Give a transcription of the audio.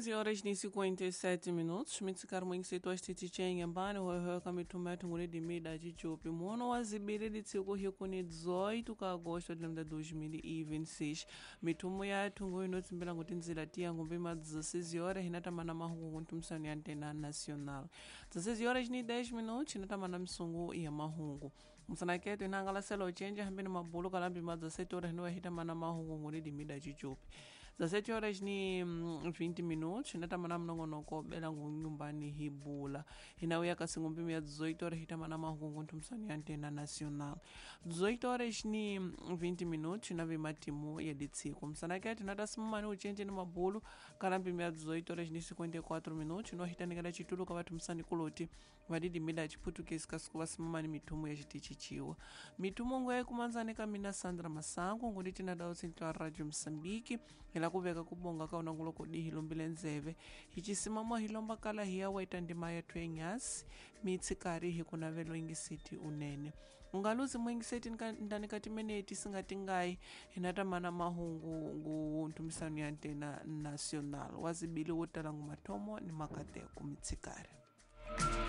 15 horas ni 57 minutos mitsikari mwingisitwa xitichi mbani hoyohoyo ka mithuma ya thunguni dimida cicupi muono wa zibiri litsiko hikuni 18 ka agosto de 2026. Mithumu ya thungu inotsimbila nguti ndzila tiya ngumbi ma 16 horas hinatamana mahungu ntumisano ya antena nacional. 16 horas ni 10 minutos hinatamana misungu ya mahungu msanaketo inangalasela ucenja hambini mabulu kalambi ma 17 horas hinowa hitamana mahungu nguni dimida cicupi. 17 horas ni 20 minutos hinatamana mnongonoko bela ngunyumbani hibula hinauya kasi ngumbi ya 18 horas hitamana mahungu ntumisano ya antena nacional. 18 horas ni 20 minutos hinave matimu ya ditsiko msanaketo hinatasimamani ucenje ni mabulu kalambi ya 18 horas ni 54 minutos hinohitanikela citulo ka vathumisani kuloti vadidimida ciputukesi kasiku vasimamani mithumu ya citici ciwa mithumu ngo yaikumanzani ka mina Sandra Masango ngudi tinadao tsintlo Radio Mosambiki hila kuveka kubonga ka unanguloko dihi lombile ndzeve hi cisimamo hi lomba kala hi ya weta ndima yethu yenyasi mitsikari hi kunavelo ingiseti unene ungaluzi muingiseti ndani ka timeneti singatingayi hinatamana mahungu ngu ntumisano ya antena nacional wazibili wo tala ngu mathomo ni makateko mitsikari.